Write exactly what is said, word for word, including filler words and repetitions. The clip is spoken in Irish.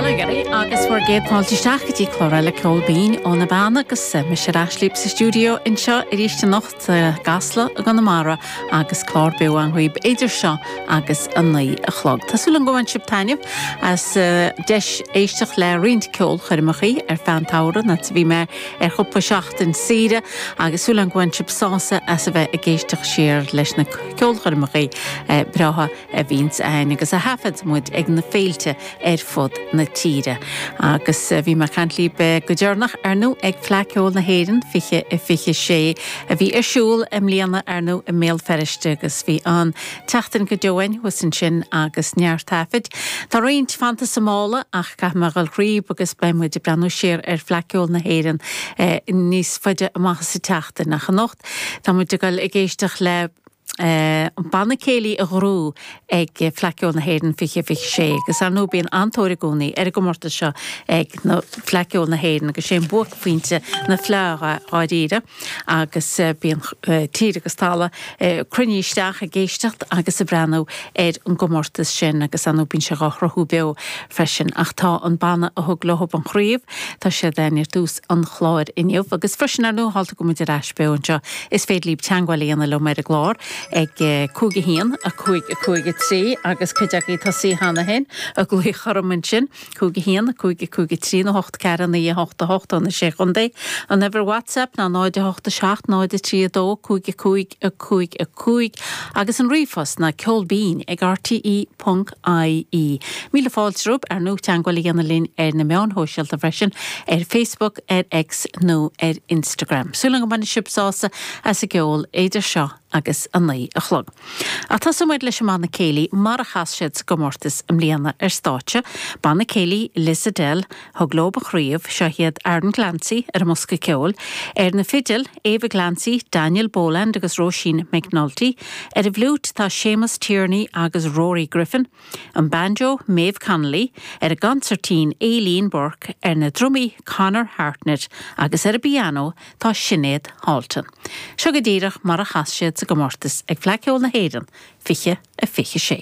Bail ó Dhia oraibh agus bhur gcéad fáilte isteach go dtí clár eile Ceol Binn ó na Beanna agus mise ar ais libh sa stiúideo anseo arís anocht i gCasla i gConamara agus clár beo againn dhaoibh idir seo agus a naoi a chlog. Tá súil agam go bhain sibh taitneamh as deis éisteacht le roinnt ceolchoirmeacha ar feadh an tsamhraidh nuair a bhí mé ar chúpla seachtain saoire agus súil agam go bhain sibh sásamh as a bheith ag éisteacht siar leis na ceolchoirmeacha breátha a bhíonns ann agus a thaifead muid ag na féilte ar fud na tíre. Agus bhí mé ag caint libh go deireanach ar ndóigh ag Fleadh Cheoil na hÉireann fiche a fiche sé a bhí ar siúl i mbliana ar ndóigh i mBéal Feirste agus bhí an tseachtain go deo againn thuas ansin agus neart taifid. Tá roinnt fanta sa mála ach caithfidh mé a dhul thríob agus beidh muid ag breathnú siar ar Fhleadh Cheoil na hÉireann níos faide amach sa tseachtain ach anocht tá muid ag dul ag éisteacht le an banna céilí a ghnóthaigh ag Fleadh Cheoil na hÉireann fiche fiche sé, agus ar ndóigh bíonn an-tóir i gcónaí ar an gcomórtas seo ag na Fleadh Cheoil na hÉireann agus sé an buaicphointe na fleá dháiríre agus bíonn tír agus talamh cruinnithe isteach ag éisteacht agus ag breathnú ar an gcomórtas sin agus ar ndóigh bíonn sé á shruthú beo freisin ach tá an banna a thug leo an chraobh tá siad ar tús an chláir inniu agus freisin ar ndóigh thalta go muid ar ais beo anseo is féidir libh teagmháil a dhéanamh liom ar an gclár ag cúig a haon a cúig a cúig a trí agus cuid agaibh tosaithe cheana féin ag glaoch orm ansin cúig a haon a cúig a cúig a trí nó hocht ceathair naoi a hocht a hocht ó na sé chontae. An uimhir WhatsApp ná náid a hocht a seacht náid a trí a dó cúig a cúig a cúig a cúig agus an ríomhphost ná ceolbinn ag rte ponc ie. Míle fáilte romhaibh ar ndóigh teagmháil a dhéanamh linn ar na meáin shóisialta freisin ar Facebook, ar X nó ar Instagram. Súil agam go mbainfidh sibh sásamh as an gceol idir seo agus a naoi a chlog. Ach tosóidh muid leis an mbanna céilí mar a chas siad sa gcomórtas i mbliana ar stáitse, banna céilí Lissadell, thug leo an chraobh, seo iad Aaron Clancy ar an mbosca ceoil, ar na fidil, Ava Clancy, Daniel Boland agus Róisín McNulty, ar an bhfliúit tá Séamus Tierney agus Rory Griffin, an banjo Maeve Connolly, ar an gconsairtín Aileen Burke, ar na drumaí Conor Hartnett agus ar an bpianó tá Sinéad Halton. Seo go díreach mar a chas siad sa gcomórtas ag Fleadh Cheoil na hÉireann fiche a fiche sé.